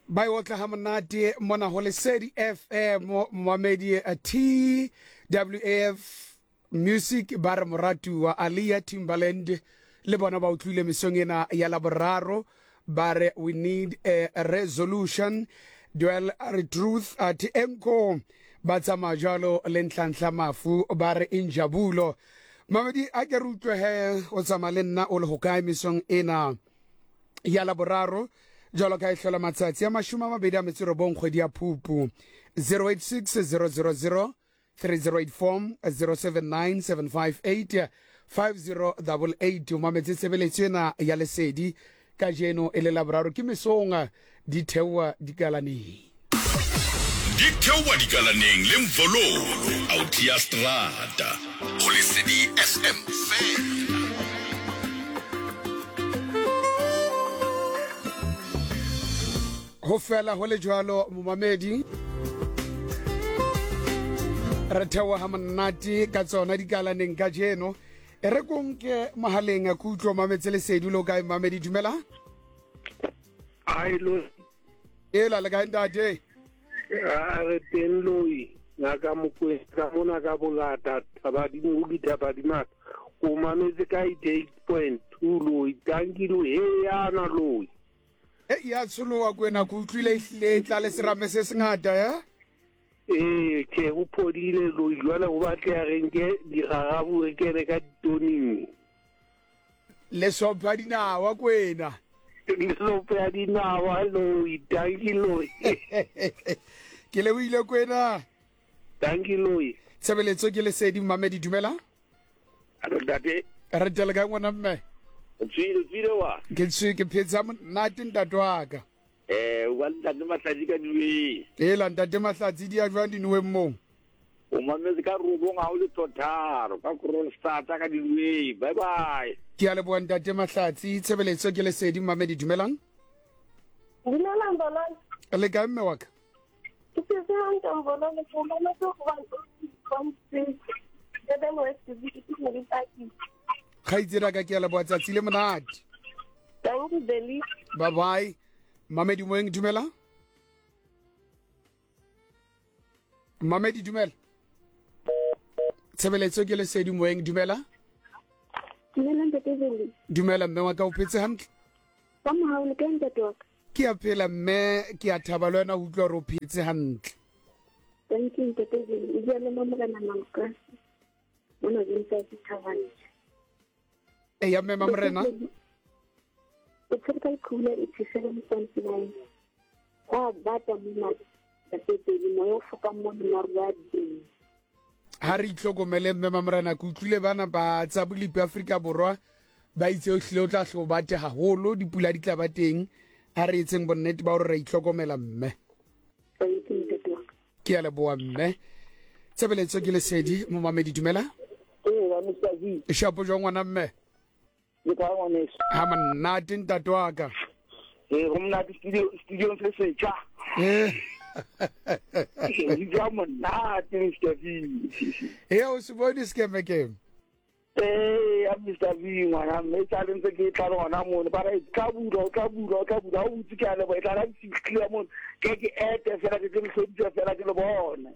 Ba e otla ha monate mona ho Lesedi FM momamedi TWF Music ba re moratuwa Aaliyah Timbaland le bona ba utlwile mesong ena ya Laboraro ba re we need a resolution duel re truth at enko ba tsamaya jalo le Nhlanhla Mafu ba re injabulo mamedi a ke re utlwe he o tsamaya le nna o le hokae mesong ena ya Laboraro jalo ka e hlola matsatsi a 29 kgwedi ya Phupu 086 000 3084 079 758 5088 o mametse tshebeletso ena ya lesedi kajeno e le laboraro ke mesong di theoa dikalaneng di theoa dikalaneng le mvololo autia strata go lesedi fm fela Go fela go le jwalo momamedi re theoga ga monate ka tsona dikalaneng ka jeno e re konke mogaleng a kutlo mametse lesedi lo kae mamedi dumela ai lo ela le kae ntate a re teng loi ngaka mokwena ka mona ka bongata thabadimo dithabadimata o mametse ka 88.2 loi tanki loi he yana loi E ya tsholoha kwena ke utlwile e hlile e tla le serame se sengata ya. Ee, tjhe o phodile loi jwale go batleha re nke digagabu re kene ka ditoning. Le sopha dinawa kwena. Le sopo ya dinawa loi, dankie loi. Ke lebohile kwena. Dankie loi. Tshebeletso ke lesedi mmamedi dumela. Alo ntate. Re tele kae ngwana mme? Tswile tswile wa. Ke tswe ke phetsa monate ntate wa ka. Eh wa ntate Mahlatsi ka diweng. Ela ntate Mahlatsi di ya jwang dinoweng moo? O mametse ka robong ha o le thotharo ka Kroonstad ka diweng. Bye bye. Ke a leboha ntate Mahlatsi tshebeletso ke lesedi mmamedi dumelang. Dumelang bolong. Le kae mme wa ka? Ke phetse hantle Mbololo, ke o mametse go 1.6 Durban West ke ne le paki. Kgaitsedi ka ke a leboha tsatsi le monate. Thank you Beli. Bye bye. Mamedi Moeng dumela. Mamedi dumela. Tshebeletso ke lesedi Moeng dumela. Dumela ntate Beli. Dumela mme wa ka o phetse hantle? Ka mohau le kae ntate wa ka? Ke a phela mme ke a thaba le wena ho utlwa gore o phetse hantle. Thank you ntate Beli. O bua le Mamorena Malokase mona Vincent Thabane. E ya mme Mamorena. O tshwere ka lekhula 87.9. Go a bata mona ntate Beli moya o fokang mo maru a teng. Ha re itlhokomele mme Mamorena ke utlwile bana ba tsa bolipi Afrika Borwa ba itse o hlile o tla hlo bate haholo dipula di tla ba teng a re etseng bonnete ba gore re itlhokomela mme ke a leboa mme tshebeletso ke lesedi momamedi dumela shapo jwa ngwana mme ga monate ntate wa ka ee go monate studiong se setšha ee ja monate mr v ee o se bone sekemekeme Ee, ya Mr V ngwana mme e tla ntse ke tla le gona mono ba re tla bula o tla bula o tla bula o butse ke a leboha e tla ra fitlhile mono ke ke ete fela ke ke le hloditse fela ke le bone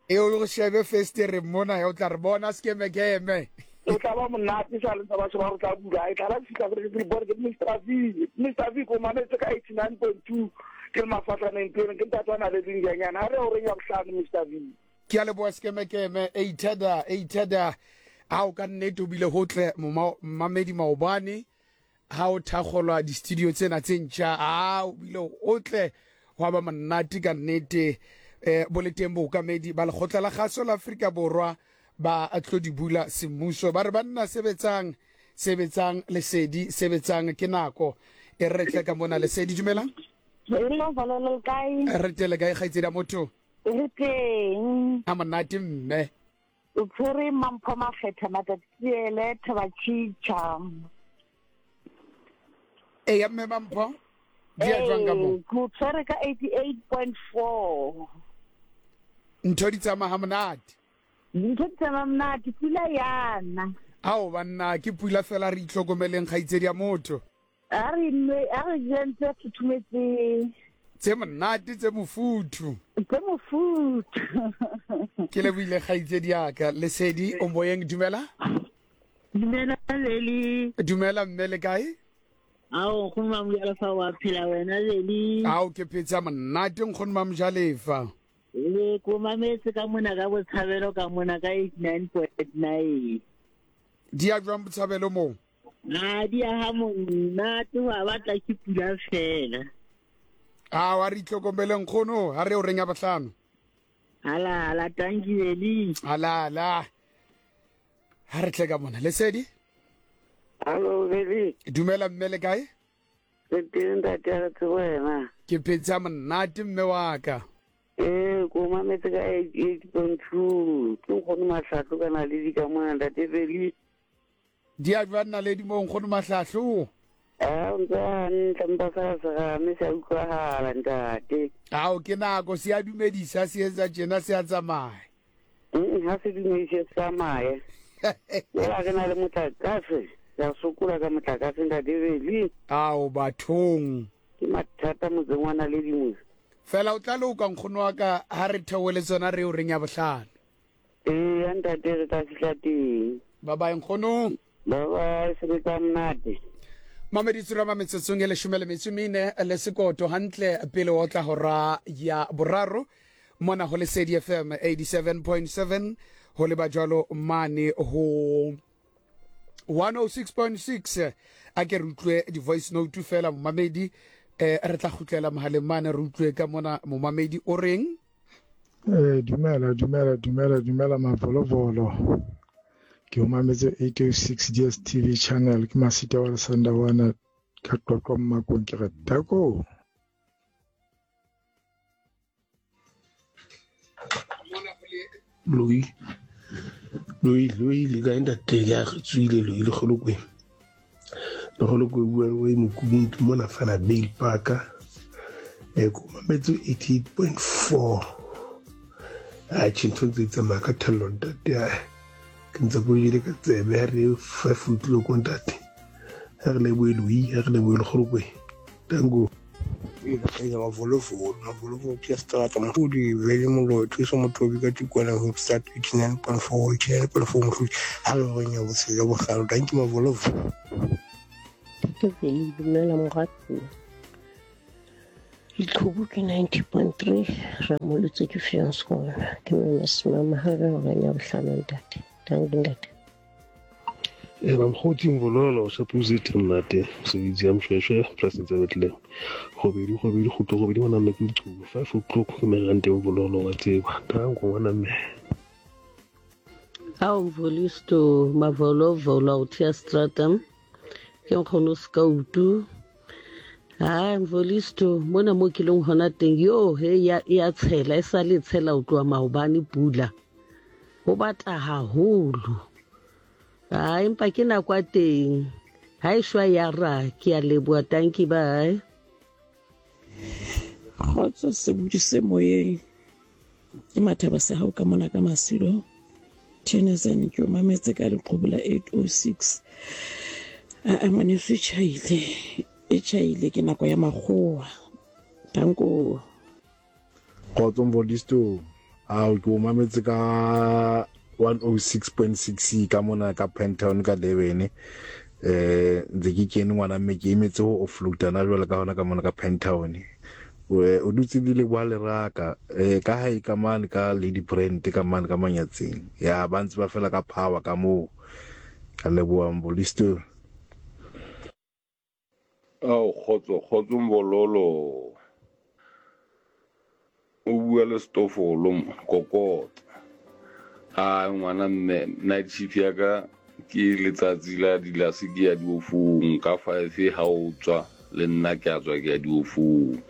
e o go shebe festere mona ya o tla re bona sekemekeme o tla ba monate sa le batho ba re tla bula e tla ra fitlha fela ke le bone ke Mr V Mr V ko mametse ka 89.2 ke le mafatlhaneng pele ke ntate wa na le dinjanyana ha re o reng ya bohlano Mr V Ke a leboha sekemekeme eitheda eitheda a o ka nnete o bile ho tle mmamedi maobane ha o thakgolwa di-studio tsena tse ntšha a o bile o tle gwa ba monate ka nnete um bo le teng bookamedi ba lekgotla la kgaso la Afrika Borwa ba tlo di bula semmuso ba re banna sebetsang sebetsang lesedi sebetsang ke nako e re tle ka mona lesedi dumelang re tele kae kgaitsedi ya motho Re teng. A monate mme. O tshwere Mampho Makgetha Matatiele Thabatšhitšha. Eya mme Mampho. Di ya jwang ka mo? Ke o tshwere ka 88.4. Ntho di tsamaya ha monate. Dintho di tsamaya monate, pula yana. Ao banna ke pula fela re itlhokomeleng kgaitsedi ya motho. A re nwe, a re jeng tse futhumetseng. Tse monate, tse mofuthu. Tse mofuthu. Ke lebohile kgaitsedi ya ka. Lesedi o moyeng, dumela. Dumela Leli. Dumela mme, le kae? Ao nkgono Mamojalefa wa phela wena Leli. Ao ke phetse monate nkgono Mamojalefa. Le ko mametse ka mona ka botshabelo ka mona ka 89.9. Di ya jwang botshabelo moo? A di ya ha monate wa batla ke pula fela. A wa re itlhokomele nkgono, ha re o reng ya bohlano. Ala ala tanki Leli. Ala ala. Ha re tle ka mona. Lesedi? Hallo Leli. Dumela mme le kae? Re teng ntate a re tsebo wena. Ke phetse monate mme wa ka. Ee, ko mametse ka 88.2. Ke nkgono Mahlahlo ka naledi ka mona ntate Beli. Di a jwang naledi moo nkgono Mahlahlo? A o ntse hantle mpa sa serame se a utlwahala ntate. Ao ke nako se a dumedisa se etsa tjena se a tsamaya. Ha se dumedise se tsamaye. Jwale re na le motlakase, re a sokola ka motlakase ntate Beli. Ao bathong. Ke mathata motseng wa naledi mose. Fela o tla loka nkgono wa ka ha re theohe le tsona re o reng ya bohlano. Ee ya ntate re tla fihla teng. Bye bye nkgono. Bye bye sebetsa monate. Mamedi Tsurama metsotsong e leshome le metso mene le sekoto hantle pele o tla hora ya boraro mona ho Lesedi FM 87.7 ho leba jwalo mane ho 106.6 a ke re utlwe di-voice note fela momamedi eh re tla kgutlela mohaleng mane re utlwe ka mona momamedi o reng. Eh dumela dumela dumela dumela mavolovolo ke o mametse 806 DSTV channel ke masita wa Lesandawana ka Qwaqwa Mmakong ke re tako. Loi loi loi le kae ntate ya re tswile loi lekgolokwe lekgolokwe bua le oe mokubung ke mona fela bail parka e ko mametse 88.4 a tjhe ntho ntse di tsamaya ka thello ntate a ke ntse ko jele ka tsebe ha re five o'clock ntate ha re lebohe loi ha re lebohe lekgolokwe tango. Eya mavolovolo mavolovolo ke strata mohlodi vele moloi thuso mothobi ka tikwana hoopstad 89.4 89.4 mohlodi ha le horeng ya botshelo ya bohlano danki mavolovolo. Ntate Veli, dumela moratuwa. Leqhubu ke 90.3 Ramolotse ke Fianskona. Ke mama Simama ha re horeng ya bohlano ntate. Danki ntate. E ba mokgotsi Mvololo shapo se monate mosebetsi ya Mshweshwe polasing tsa Bethlehem. Robedi robedi kgutlo robedi ngwana mme ke leqhubu 5 o'clock ke merante Mvololo wa tseba tanko ngwana mme. Ao Mvolisto Mavolovolo Autia Stratum ke nkgono Skautu. Ha Mvolisto mona mo ke leng hona teng yo he ya ya tshela e sa le tshela o tloha maobane pula. Ho bata haholo. Ha empa ke nako ya teng. Ha e shwa ya ra ke a leboha tanki bye. Kgotso sebodi se moyeng. Ke Mathaba Sehau ka mona ka Masilo. Tennyson ke o mametse ka leqhubu la 806. Aa ngwaneso e tjhaile, e tjhaile ke nako ya makgowa. Danko. Kgotso Mvolisto, ao ke o mametse ka 106.6 ka mona ka Pentown ka Durban. Eh ntse ke kene ngwana mme ke emetse ho offloada na jwale ka hona ka mona ka Pentown. O dutse le leboha leraka eh ka hae ka mane ka Lady Brand ka mane ka Manyatseng. Ya ba ntse ba fela ka power ka moo. Ka leboha Mvolisto. Ao kgotso kgotso Mbololo o bua le Stofolo mo kokota a ngwana mme night shift ya ka ke letsatsi la dilase ke ya diofong ka 5 ha o tswa le nna ke a tswa ke ya diofong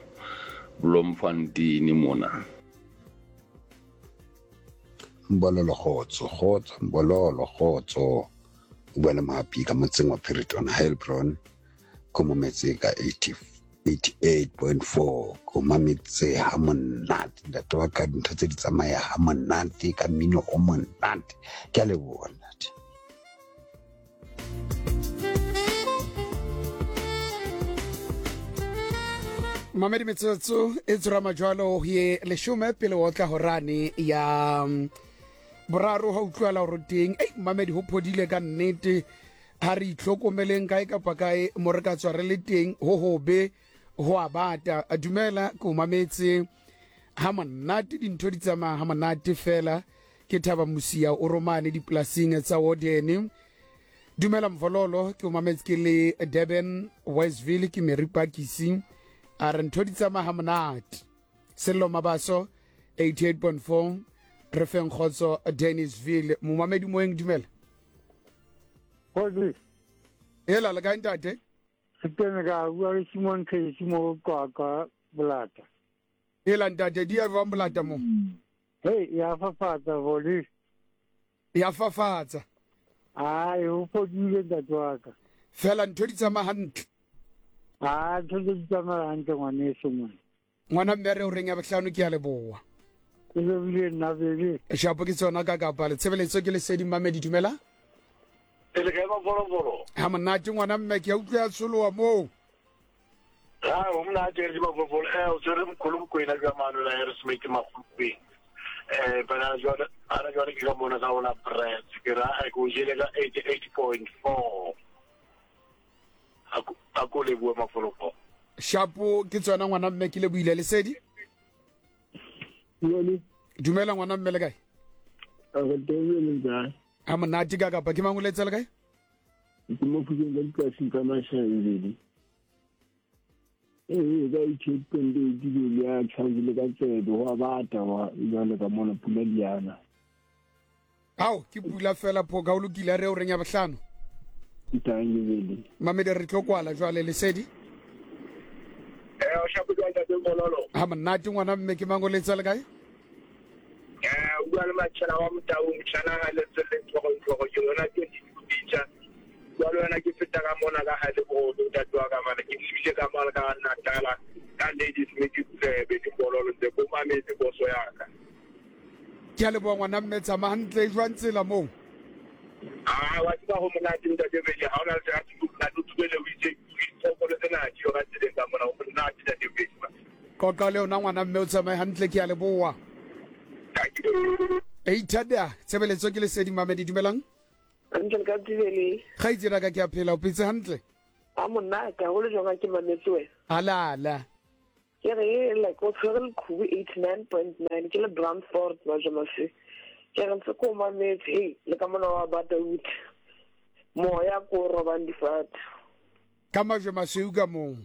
Bloemfontein mona. Mbololo kgotso kgotso Mbololo kgotso o bua le Mohapi ka motseng wa Phereton Heilbron ko mametse ka 88.4 ko mametse ha monate ntate wa ka dintho tse di tsamaya ha monate ka mmino o monate ke a leboha ntate. Mamedi metsotso e tsorama jwalo ye leshome pele o tla horane ya boraro ha utlwala hore teng. Ei mamedi ho phodile ka nnete ha re itlhokomeleng kae kapa kae mo re ka tswa re le teng ho hobe ho a bata. Dumela ke o mametse ha monate dintho di tsamaya ha monate fela ke thaba mosia o romane dipolasing tsa Wodene. Dumela Mvololo ke o mametse ke le Durban Westville ke Mary Pakisi a re ntho di tsamaya ha monate. Sello Mabaso 88.4 re feng kgotso Dennisville momamedi moeng dumela. Kgotsi. Hela le kae ntate? Re teng ka bua le Simon Casey mo Qwaqwa Bolata. Hela ntate di ya jwang Bolata mo? Hey, ya fafatsa boli. Ya fafatsa. Ai, o fodile ntate wa ka. Fela ntho di tsamaya hantle. Ah, ntho di tsamaya hantle ngwaneso mone. Ngwana mme re o reng ya bohlano ke ya leboha. Ke lebile nna bele. Shapo ke tsona ka kapa le tshebeletso ke lesedi mmamedi dumela. Pele kae mafolofolo? Ha monate ngwana mme ke a utlwa ya tsholoha moo. Ha o monate re mafolofolo eh o tsere mkhulu Mokwena ka mano la Harrismith Makgopeng. Eh bana jwale ana jwale ke ka mona ka ona press ke ra ke o jele ka 88.4. A ko lebohe mafolofolo. Shapo ke tsona ngwana mme ke lebohile lesedi. Dumela ngwana mme le kae? Re teng le kae? Ha monate ka kapa ke mang o letsa le kae? Ke mo phukeng ka dipolasing tsa Mashaebele. Ee, ka eighty-eight point eight ke le ya tjhakile ka tsebe ho a bata wa jwale ka mona pula di ana. Ao ke pula fela phoka o lokile re o reng ya bohlano. Thank you Bele. Mamedi re tlo kwala jwale lesedi. Eh o shapo jwang ntate Mbololo? Ha monate ngwana mme ke mang o letsa le kae? Eh o bua le matjhana wa Motau motjhana ha le tselle tlhogo tlhogo ke yona ke di bitsa. Jwale wena ke feta ka mona ka ha le bo ntate wa ka mane ke lebile ka mona ka Natala ka Ladies Smith Tsebe di Mbololo ntse ko mametse boso ya ka. Ke a leboha ngwana mme tsamaya hantle jwang tsela moo? Ah wa tseba ho monate ntate Bele ha ona le tsa tsebo monate o tsubele o itse diphoofolo tsena di yo ka tseleng ka mona ho monate ntate Bele. Qoqa le yona ngwana mme o tsamaye hantle ke a leboha. Eithada tshebeletso ke lesedi mamedi dumelang. Hantle le ka Tibele. Kgaitsedi ka ke a phela o phetse hantle. A monate haholo jwang ha ke mametse wena. Alala. Ke re like o tshwere leqhubu 89.9 ke le Brandfort Majomase. Ke re ntse ko mametse hey le ka mona wa bata uthi. Moya ko robang difate. Ka majwe masweu ka moo.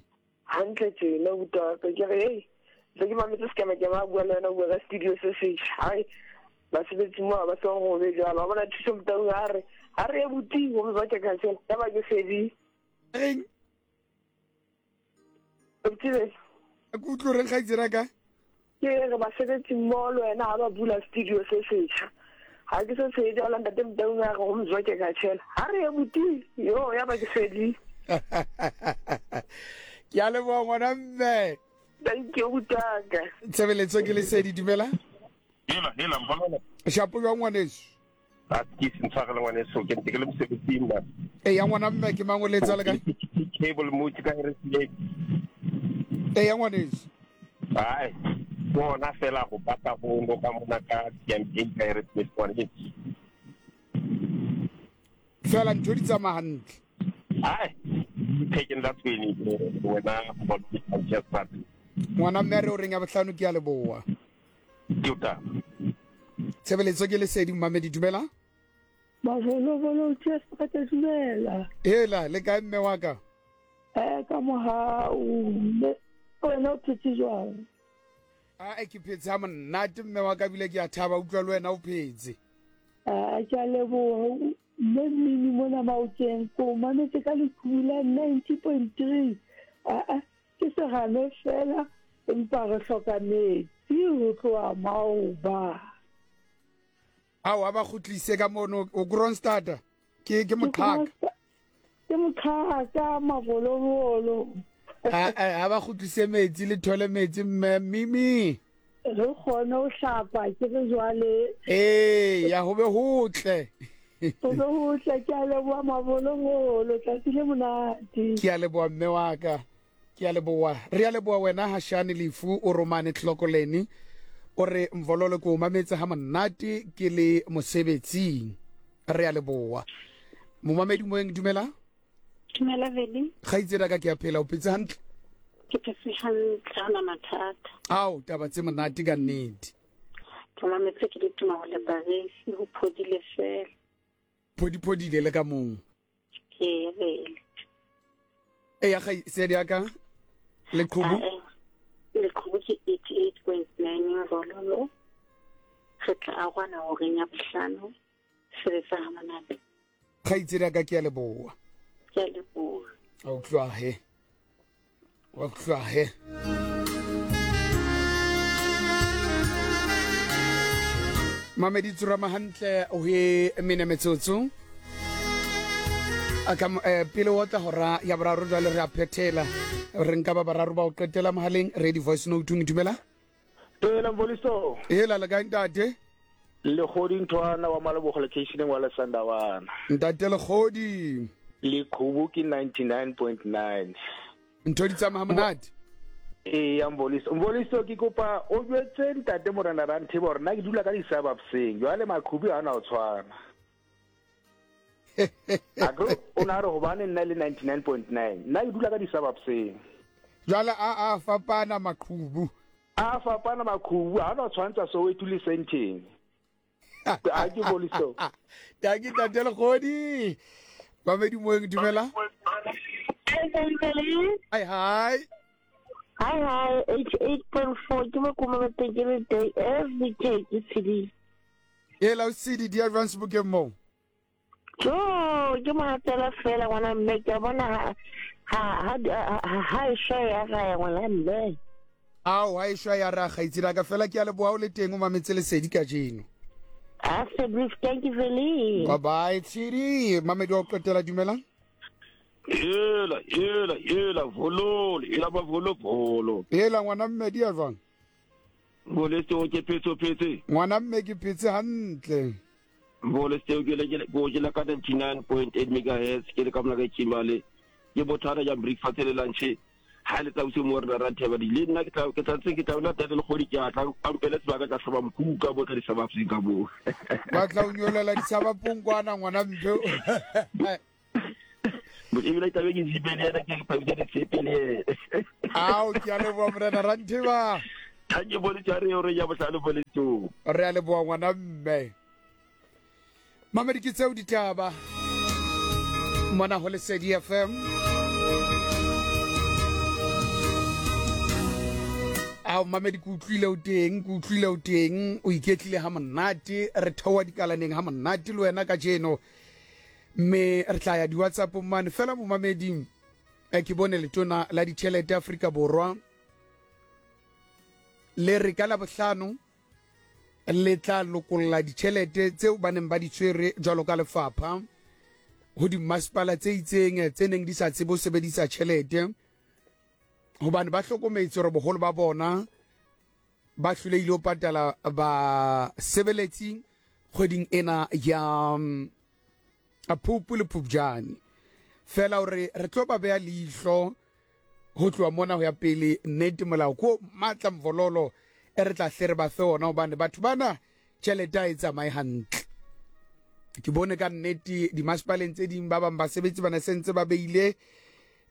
Hantle tjena abuti wa ka ke re hey ntse ke mametse sekema-kema a bua le wena o bua ka studio se setjha. Hai basebetsi mo ba se go be jwalo. Wa bona Thuso Motaung a re ha re ye buti go ba ke ka tshela. Ya ba ke fedile. Reng? Abuti be. Ke utlwe reng kgaitsedi ya ka? Ke re basebetsi mmoho le wena ha ba bula studio se setjha. Ha ke se tsheje jwalo ntate Motaung a re go mzwa ke ka tshela. Ha re ye buti yo ya ba ke fedile. Ke a leboha ngwana mme. Thank you butaka. Tshebeletso ke lesedi dumela. Hela hela mbololo. Shapo jwang ngwaneso? A ke se ntshwarele ngwaneso ke ntse ke le mosebetsing ba. E ya ngwana mme ke mang o letsa le kae? Cable mo ke ka Harrismith. E ya ngwaneso. Ai. Bona fela go bata go ngo ka mona ka TMA ka Harrismith ngwaneso. Fela ntho di tsamaya hantle. Ai. Taken that way wena go Ngwana mme re o reng ya bohlano ke a leboha. Ke o taba. Tshebeletso ke lesedi mmamedi dumela. Mafolofolo Jeff ka tla dumela. Hela le kae mme wa ka? Eh ka mohau mme wena o phetse jwang? A ke phetse ha monate mme wa ka bile ke a thaba utlwa le wena o phetse. A ke a leboha mme mmini mona Maokeng ko mametse ka leqhubu la 90.3. Aa ke serame fela empa re hloka metsi ho tloha maoba. Ao a ba kgutlise ka mono o Kroonstad ke ke moqhaka. Ke moqhaka mabolobolo. A ba kgutlise metsi le thole metsi mme Mimi. Re kgone ho hlapa ke re jwale. Ee ya ho be hotle. Ho be hotle ke a leboha mabolobolo tsatsi le monate. Ke a leboha mme wa ka. Ke a leboa. Re a leboa wena Hashane Lefu o romane Tlokoleni. O re Mvololo ke o mametse ha monate ke le mosebetsing. Re a leboa. Momamedi moeng dumela. Dumela Veli. Kgaitsedi ka ke a phela o phetse hantle. Ke phetse hantle ha na mathata. Ao taba tse monate ka nnete. Ke mametse ke le tuma go le Paris ho phodile fela. Phodiphodile le ka mong. Ke vele. E ya kgaitsedi ya ka leqhubu. Leqhubu ke 88.9 Rololo. Re tla agwana horeng ya bohlano. Sebetsa ha monate. Kgaitsedi ya ka ke a leboa. Ke a leboa. A utlwa he. Wa utlwa he. Mamedi tsurama hantle o he mene metsotso. A ka pele o tla hora ya boraro jwale re a phethela. Re nka ba bararo ba o qetela mohaleng ready voice note dumela. Ela Mvoliso. Ela le kae ntate? Lekgodi Nthwana wa Malebogo locationeng wa Lesandawana. Ntate Lekgodi. Leqhubu ke 99.9. Ntho di tsamaya monate. Ee ya Mvoliso. Mvoliso ke kopa o jwetse ntate Morena Rantheba hore nna ke dula ka di-suburbseng jwale maqhubu ha na o tshwana. Akere o ne a re hobane nna le 99.9 nna ke dula ka di-suburbseng. Jwale a a fapana maqhubu. A fapana maqhubu ha no tshwantsa Soweto le Sandton. A ke boliso. Tanki ntate Lekgodi. Mamedi moeng dumela. Hi hi. Hi hi 88.4 ke mo kuma ke day every day ke tshedile. Ela o sedi di advance bokeng moo. Jo, ke mo hatela fela ngwana mme ke a bona ha ha ha ha e shwa ya raya ngwana mme. Ao, ha e shwa ya raya kgaitsedi ka fela ke a leboha o le teng o mametse lesedi kajeno. A se brief, thank you Veli. Bye bye tshedi. Mamedi wa go qetela dumelang. Hela, hela, hela, vololo, hela ba volo volo. Hela ngwana mme di ya jwang? Ngolesteo ke phetse o phetse. Ngwana mme ke phetse hantle. Ngolesteo ke le ke go jela ka 99.8 megahertz ke le ka mona ka Kimberley. Ke bothata ja breakfast le lunch. Ha le tsa bosiu mo re ra theba di le nna ke tla ke tla tse ke tla ona tate le kgodi ke a tla a mpele sebaka tla hloma mkuka bo ka disabapseng ka bo. Ba tla o nyolela disabapong kwana ngwana mphe. Ebile tlabe ke zipe le ena ke phabisa ditshepe le ena. Ao, ke a leboa morena Rantheba. Thank you bone tshware eo re ya bohlale bone tso. Re a leboa ngwana mme. Mamedi ke tseo ditaba. Mona ho Lesedi FM. Ao mamedi ke utlwile o teng, ke utlwile o teng, o iketlile ha monate, re theoha dikalaneng ha monate le wena kajeno. Mme re tla ya di-whatsappong mane fela momameding. Ke bone letona la ditšhelete Afrika Borwa le re ka Labohlano le tla lokolla ditšhelete tseo ba neng ba di tshwere jwalo ka lefapha ho dimmasepala tse itseng tse neng di sa tsebe ho sebedisa tšhelete hobane ba hlokometse hore boholo ba bona ba hlolehile ho patala basebeletsi kgweding ena ya Phupu le Phupjane. Fela hore re tlo ba beha leihlo ho tloha mona ho ya pele nnete molao ko matla mvololo e re tla hle re ba fe ona hobane batho bana tjhelete ha e tsamaye hantle. Ke bone ka nnete dimasepaleng tse ding ba bang basebetsi ba ne sentse ba beile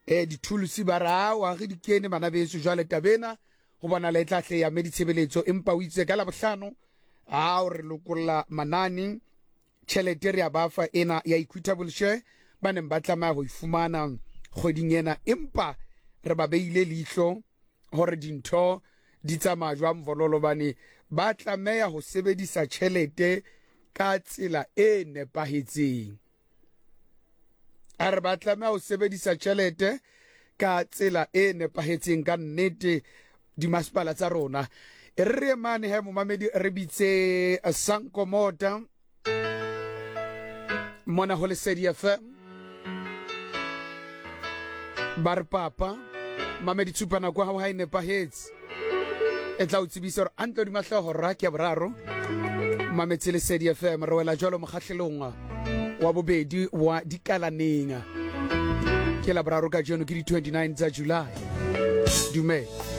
dithulusi ba re awa re di kene bana beso jwale tabena ho bonala e tla hle ya me ditshebeletso empa o itse ka Labohlano a o re lokolla manane tjhelete re a ba fa ena ya equitable share ba neng ba tlameha ho e fumana kgweding ena empa re ba beile leihlo hore dintho di tsamaya jwang vololo bane ba tlameha ho sebedisa tjhelete ka tsela e nepahetseng. A re ba tlameha ho sebedisa tjhelete ka tsela e nepahetseng ka nnete dimasepala tsa rona. E re re mane he momamedi re bitse Sanko Mota mona ho Lesedi FM. Ba re papa mamedi tshupa nako ya hao ha e nepahetse. E tla o tsebisa hore a ntlo di mahloho ra ke ya boraro. Mametse Lesedi FM re wela jwalo mokgahlelong wa bobedi wa dikalaneng. Ke Laboraro kajeno ke di 29 tsa July. Dumela.